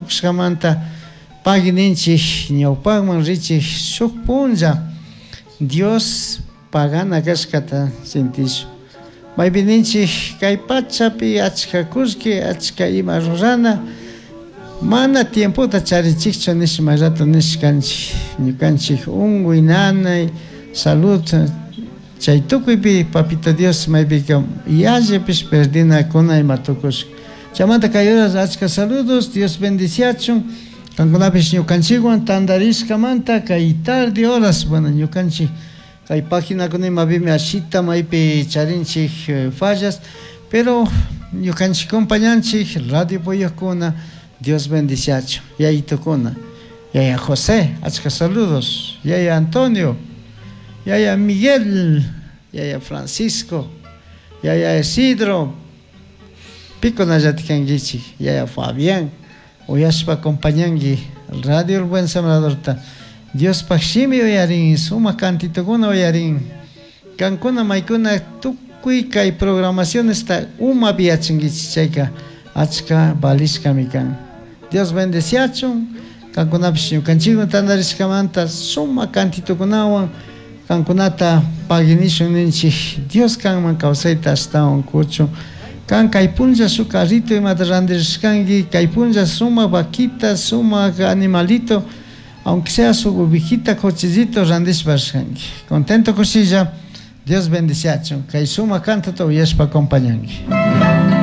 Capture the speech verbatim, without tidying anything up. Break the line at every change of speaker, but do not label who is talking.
Tukushkamanta pagui ninchik ñawpakman richik shuk punlla Dios pagana kashkata sintishun. Maypi ninchik kay pachapi achka kullki achka ima rurana mana tiempota charichikchu nish may rato nishkanchik ñukanchik unkuy nanay salud chay tukuypi papito Dios maypika yallipish perdinakuna ima tukushka. Chaymanta kay horas achka saludos Dios bendiciachun kankunapish ñukanchikwan tantarishkamanta kay tarde horas bueno ñukanchik kay paginakuna imapimi ashita maypi charinchik fallas pero ñukanchik compañanchik radio puyukuna Dios bendiciachun yayitukuna yaya José achka saludos yaya Antonio yaya Miguel yaya Francisco yaya Isidro pikunallatik kankichik yaya Fabián uyashpa acompañanki Radio El Buen Sembradorta Diospaj shimi uyarin sumak kantitukuna uyarin kankuna maykuna tukuy kay programacionesta umapi yachankichik chayka achka valishkami kan Dios bendeciachun kankunapish ñukanchikwan tantarishkamanta sumak kantitukunawan kankunata paginishun ninchik Dios kanman kawsayta ashtawan kuchun kan kay punlla shuk carrito imata randirishkanki kay punlla sumak vaquita sumak animalito aunque sea su ovejita cochecito randishpa rishkanki contento kushilla Dios bendiciachun kay sumak cantota uyashpa acompañanki.